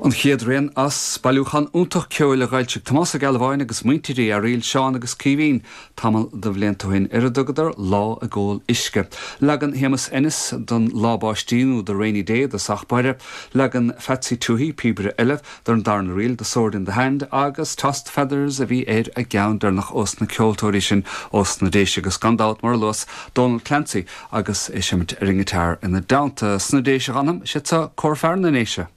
An chéad rian as bailiúchán iontach ceoil a dh'fhoilsigh Tomás Ó Gealbháin agus muintir Uí Fhearaíl, Seán agus Caoimhín, tamall de bhlianta ó shin, ar a dtugadar Lá ag Ól Uisce. Leagan Shéamus Ennis don Lá Báistí nó The Rainy Day i dtosach báire, leagan Phatsy Touhey, píobaire eile, don darna ríl, The Sword in the Hand, agus Toss the Feathers a bhí ar an gceann deireanach ós na ceoltóirí sin ós na Déise agus gan dabht, mar a luas, Dónal Clancy agus é ag seimint ar an ngiotár ina dteannta. Sna Déise a dh'fhanam, siad seo Cór Fear na nDéise.